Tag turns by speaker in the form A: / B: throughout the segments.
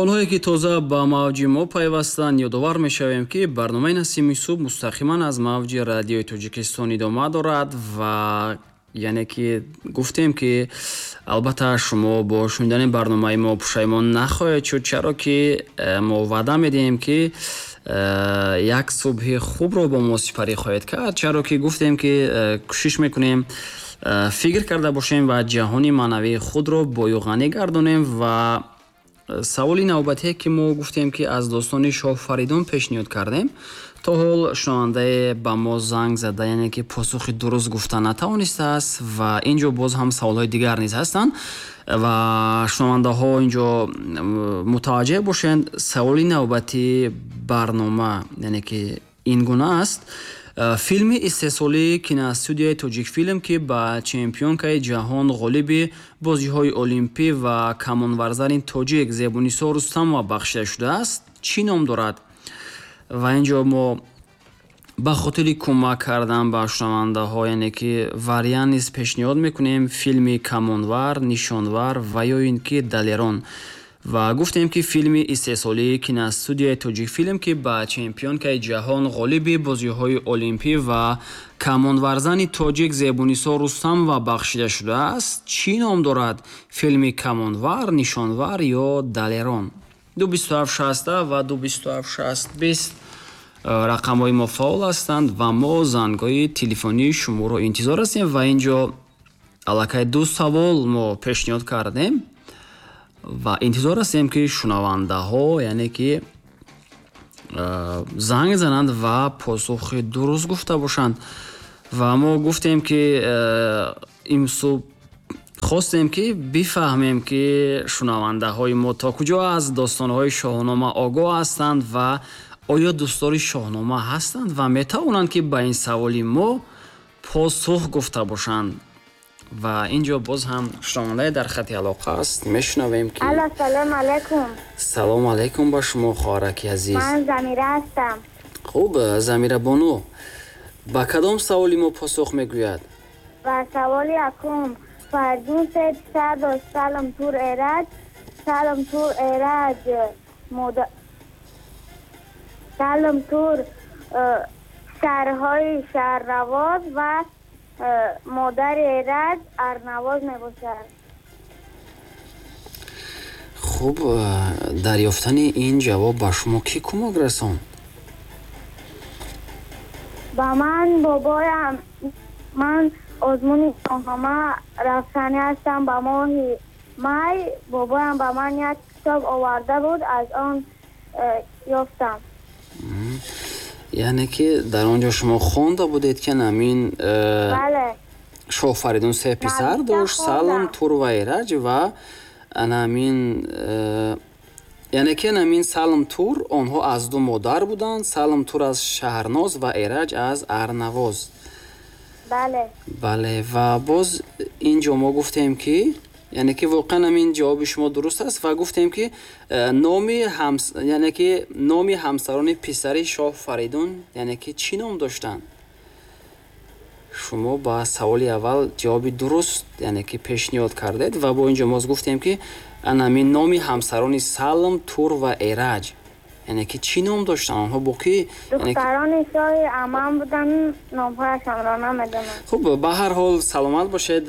A: Онҳое ки тоза ба мавҷи мо пайвастанд, ёдовар мешавем, ки барномаи Насими субҳ мустақиман аз мавҷи Радиои Тоҷикистон идома дорад ва яъне ки гуфтем, ки албатта шумо бо шунидани барномаи мо пушаймон нахоҳед шуд, чаро ки мо ваъда медиҳем, ки як субҳи хубро бо мо сипарӣ хоҳед кард, чаро ки гуфтем, ки кӯшиш мекунем фикр карда бошем ва ҷаҳони маънавии худро бою ғанӣ гардонем. Ва саволи навбатие, ки мо гуфтем, ки аз достони шоҳ Фаридун пешниҳод кардем, то ҳол шунавандае ба мо занг зада, яъне ки посухи дуруст гуфта натавонистааст. Ва ин ҷо боз ҳам саволҳои дигар низ ҳастанд ва шунавандаҳо ин ҷо мутаваҷҷеҳ бошанд. Саволи навбатии барнома, яъне ки ин гуна аст. Филми истеҳсолии киностудияи Тоҷикфилм, ки ба чемпионкаи ҷаҳон, ғолиби бозиҳои олимпӣ ва камонварзани тоҷик Зебунисо Рустамова бахшида шудааст, чӣ ном дорад? Ва ин ҷо мо ба хотири кӯмак кардан ба шунавандаҳо, яъне ки вариант низ пешниҳод мекунем: филми Камонвар, Нишонвар ва ё ин ки Далерон. Ва гуфтем, ки филми истеҳсолии киностудияи Тоҷикфилм, ки ба чемпионкаи ҷаҳон, ғолиби бозиҳои олимпӣ ва камонварзани тоҷик Зебунисо Рустамова бахшида шудааст, чӣ ном дорад? Филми Камонвар, Нишонвар ё Далерон? 2 27 60 ва 2 27 60 20 рақамҳои мо фаъол ҳастанд ва мо зангҳои телефонии шуморо интизор ҳастем. Ва ин ҷо аллакай ду савол мо пешниҳод кардем ва интизор ҳастем, ки шунавандаҳо, яъне ки занг зананд ва посухи дуруст гуфта бошанд. Ва мо гуфтем, ки имсуб хостем, ки бифаҳмем, ки шунавандаҳои мо то куҷо аз достонҳои Шоҳнома огоҳ ҳастанд ва оё дӯстдори Шоҳнома ҳастанд ва метавонанд, ки ба ин саволи мо посух гуфта бошанд. Ва ин ҷо боз ҳам шунавандае дар хати алоқа аст, мешунавем, ки
B: Алло, салом алайкум.
A: Салом алайкум ба шумо, хоҳараки азиз.
B: Ман Замира ҳастам.
A: Хуб, Замира бону, ба кадом саволи мо посух мегӯяд?
B: Ба саволи якум. Фаридун се писар дошт: Салм, Тур, Эраҷ. Салм, Тур, Эраҷ Салм, Тур писарҳои Шаҳрнавоз ва модари Эраҷ Арнавоз мебошад.
A: Хуб, дар ёфтани ин ҷавоб ба шумо кӣ кӯмак расонд?
B: Ба ман бобоям. Ман озмуни Шоҳнома рафтанӣ ҳастам ба моҳи май. Бобоям ба ман як китоб оварда буд, аз он ёфтам.
A: Яъне ки дар он ҷо шумо хонда будед, ки ҳамин
B: Бале.
A: шоҳ Фаридун се писар
B: Нависта
A: дошт: Салм,
B: хондам.
A: Тур ва Эраҷ. Ва анамин яъне ки анамин Салм, Тур, онҳо аз ду модар буданд: Салм, Тур аз Шаҳрноз ва Эраҷ аз Арнавоз.
B: Бале.
A: Бале, ва боз ин ҷо мо гуфтем, ки яъне ки воқеан ҳамин ҷавоби шумо дуруст аст ва гуфтем, ки номи яъне ки номи ҳамсарони писари шоҳ Фаридун, яъне ки чӣ ном доштанд? Шумо ба саволи аввал ҷавоби дуруст, яъне ки пешниҳод кардед ва бо ин ҷо боз гуфтем, ки анамин номи ҳамсарони Салм, Тур ва Эраҷ, яъне ки чӣ ном доштанд онҳо, бо кӣ, яъне ки
B: Духтарони шоҳи амам буданд, номҳояшонро намедонам.
A: Хуб, ба ҳар ҳол саломат бошед.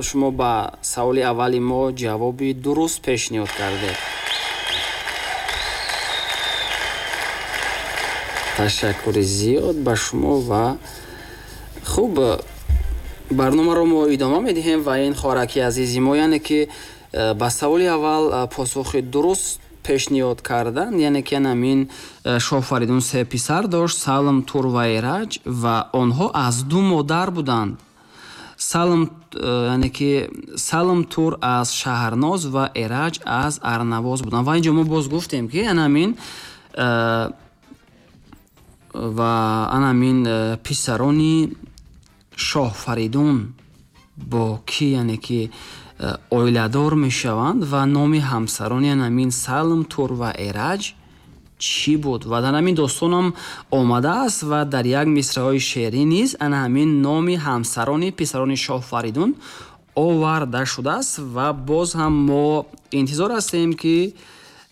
A: Шумо ба саволи аввали мо ҷавоби дуруст пешниҳод кардед. Ташаккури зиёд ба шумо. Ва хуб, барномаро мо идома медиҳем ва ин хоҳараки азизи мо, яъне ки ба саволи аввал посухи дуруст пешниҳод кардан, яъне ки ҳамин шоҳ Фаридун се писар дошт: Салм, Тур ва Эраҷ, ва онҳо аз ду модар буданд. Салм, яъне ки Салм, Тур аз Шаҳрноз ва Эраҷ аз Арнавоз буданд. Ва инҷо мо боз гуфтем, ки анамин ва анамин писарони шоҳ Фаридун бо кӣ, яъне ки оиладор мешаванд ва номи ҳамсарони анамин Салм, Тур ва Эраҷ чӣ буд. Ва дар ҳамин достонам омадааст ва дар як мисраҳои шеърӣ низ ана ҳамин номи ҳамсарони писарони шоҳ Фаридун оварда шудааст. Ва боз ҳам мо интизор ҳастем, ки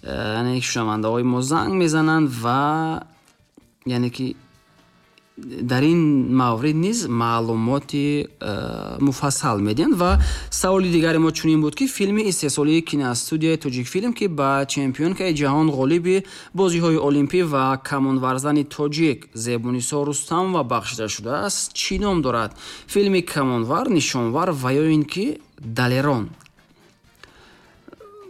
A: Яъне шунавандаҳои мо занг мезананд ва яъне ки дар ин маврид низ маълумоти муфассал медиҳанд. Ва саволи дигари мо чунин буд, ки филми истеҳсолии киностудияи Тоҷикфилм, ки ба чемпионкаи ҷаҳон, ғолиби бозиҳои олимпӣ ва камонварзани тоҷик Зебунисо Рустамова бахшида шудааст, чӣ ном дорад? Филми Камонвар, Нишонвар ва ё ин ки Далерон?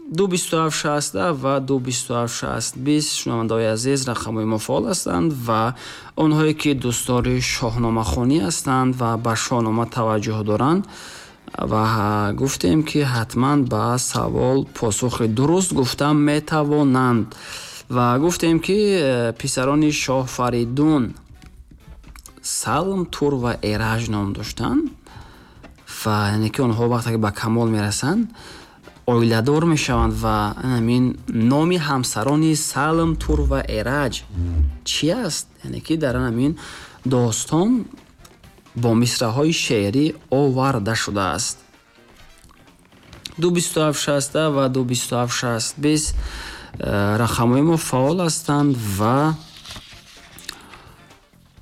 A: 227 60 ва 227 60 20, шунавандаҳои азиз, рақамҳои мо фаъол ҳастанд ва онҳое ки дӯстдори шоҳномахонӣ ҳастанд ва ба шоҳнома таваҷҷӯҳ доранд, ва гуфтем, ки ҳатман ба савол посухи дуруст гуфта метавонанд. Ва гуфтем, ки писарони шоҳ Фаридун Салм, Тур ва Эраҷ ном доштанд ва яъне ки онҳо вақте ки ба камол мерасанд, оиладор мешаванд. Ва ҳамин номи ҳамсарони Салм, Тур ва Эраҷ чӣ аст? Яъне ки дар ҳамин достон бо мисраҳои шеърӣ оварда шудааст. 227 60 ва 227 60 20 рақамҳои мо фаъол ҳастанд. Ва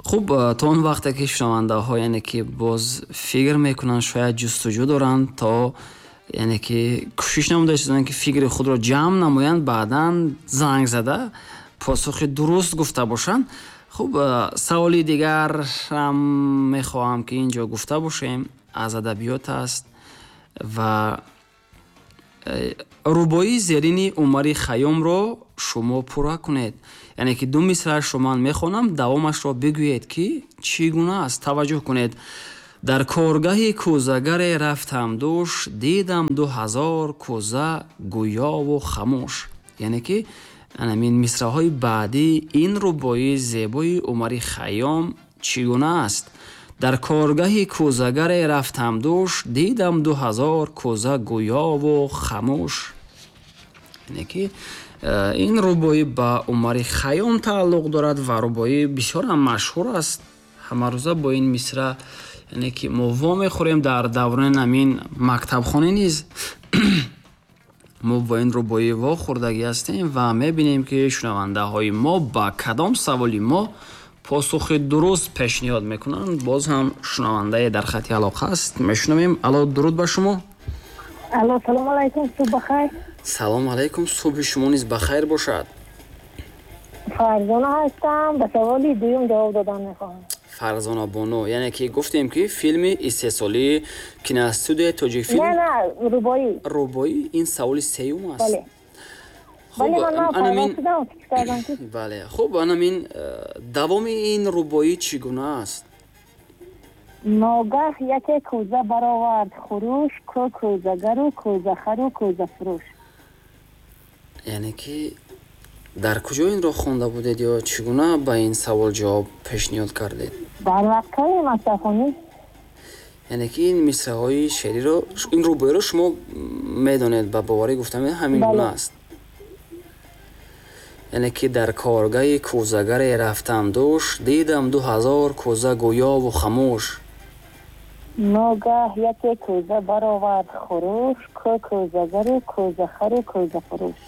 A: хуб, то он вақте ки шунавандаҳо, яъне ки боз фикр мекунанд, шояд ҷустуҷӯ доранд, то яъне ки кӯшиш намуда истоданд, ки фикри худро ҷамъ намоянд, баъдан занг зада посухи дуруст гуфта бошанд. Хуб, саволи дигарам мехоҳам, ки ин ҷо гуфта бошем, аз адабиёт аст ва рубоии зерини Умари Хайёмро шумо пурра кунед. Яъне ки ду мисраашро ман мехонам, давомашро бигӯед, ки чӣ гуна аст. Таваҷҷӯҳ кунед. Дар коргаҳи кӯзагаре рафтам дӯш, дидам 2000 кӯза гӯёву хамӯш. Яъне ки анамин мисраҳои баъдии ин рубоии зебои Умари Хайём чӣ гуна аст? Дар коргаҳи кӯзагаре рафтам дӯш, дидам 2000 кӯза гӯёву хамӯш. Яъне ки ин рубоӣ ба Умари Хайём тааллуқ дорад ва рубоӣ бисёрам машҳур аст. Ҳамарӯза бо ин мисра, яъне ки мо вомехӯрем. Дар даврони ҳамин мактабхонӣ низ мо бо ин рубоӣ вохӯрдагӣ ҳастем ва мебинем, ки шунавандаҳои мо ба кадом саволи мо посухи дуруст пешниҳод мекунанд. Боз ҳам шунавандае дар хати алоқа аст, мешунавем. Алло, дуруд ба шумо.
C: Алло, салом алайкум, субҳ бахайр.
A: Салом алайкум, субҳи шумо низ бахайр бошад.
C: Фарзона ҳастам, ба саволи дуюм ҷавоб додан мехоҳам.
A: Фарзона бону, яъне ки гуфтем, ки филми истеҳсолии киностудияи Тоҷикфилм.
C: Не, не, рубоӣ.
A: Рубоӣ, ин саволи сеюм аст.
C: Бале.
A: Хуб,
C: бале, ман
A: анамин
C: шудам, фикр кардам, ки
A: Бале, хуб, анамин давоми ин рубоӣ чӣ гуна аст?
C: Ногаҳ яке кӯза баровард хурӯш, ку кӯзагару кӯзахару кӯзафурӯш.
A: Яъне ки дар куҷо инро хонда будед ё чӣ гуна ба ин савол ҷавоб пешниҳод кардед?
C: Дар вақтҳои мактабхонӣ.
A: Яъне ки ин мисраҳои шеъриро, ин рубоиро шумо медонед, ба боварӣ гуфта ҳамин гуна аст. Яъне ки дар коргаҳи кӯзагаре рафтам дӯш, дидам 2000 кӯза гӯёву хамӯш.
C: Ногаҳ яке кӯза баровард хурӯш, ку кӯзагару кӯзахару кӯзафурӯш.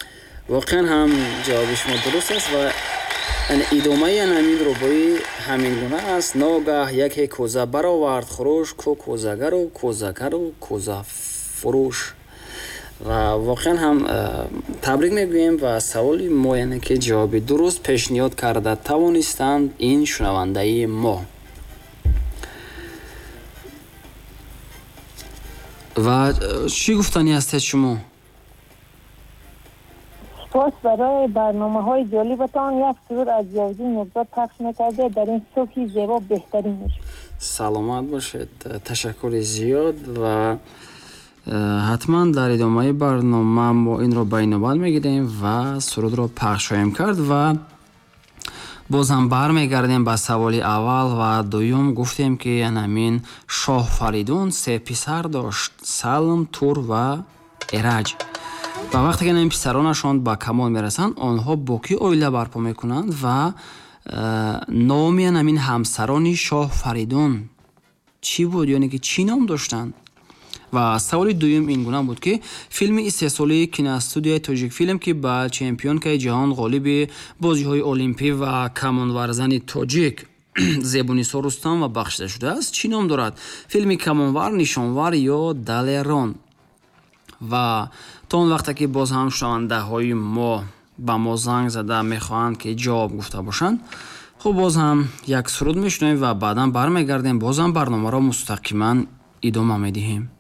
A: Воқеан ҳам ҷавоби шумо дуруст аст ва идомаи ҳамин рубоӣ ҳамин гуна аст: ногаҳ яке кӯза баровард хурӯш, ку кӯзагару кӯзакару кӯзафурӯш. Ва воқеан ҳам табрик мегӯем ва саволи мо, яъне ки ҷавоби дуруст пешниҳод карда тавонистанд ин шунавандаи мо. Ва чӣ гуфтанӣ ҳастед шумо?
C: Сипос барои барномаҳои ҷолибатон. Як суруд аз Зиёвиддин Нурзод пахш мекардед дар ин субҳи зебо, беҳтарин мешуд.
A: Саломат бошед, ташаккури зиёд. Ва ҳатман дар идомаи барнома мо инро ба инобат мегирем ва сурудро пахш хоҳем кард. Ва боз ҳам бармегардем ба саволи аввал ва дуюм. Гуфтем, ки ҳамин шоҳ Фаридун се писар дошт: Салм, Тур ва Эраҷ. Ва вақте ки ин писаронашон ба камол мерасанд, онҳо бо кӣ оила барпо мекунанд ва номи ҳамин ҳамсарони шоҳ Фаридун чӣ буд, ёне ки чӣ ном доштанд? Ва саволи дуюм ин гуна буд, ки филми истеҳсолии киностудияи Тоҷикфилм, ки ба чемпионкаи ҷаҳон, ғолиби бозиҳои олимпӣ ва камонварзани тоҷик Зебунисо Рустамова бахшида шудааст, чӣ ном дорад? Филми Камонвар, Нишонвар ё Далерон? Ва то он вақте ки боз ҳам шунавандаҳои мо ба мо занг зада мехоҳанд, ки ҷавоб гуфта бошанд, хуб, боз ҳам як суруд мешунавем ва баъдан бармегардем, боз ҳам барномаро мустақиман идома медиҳем.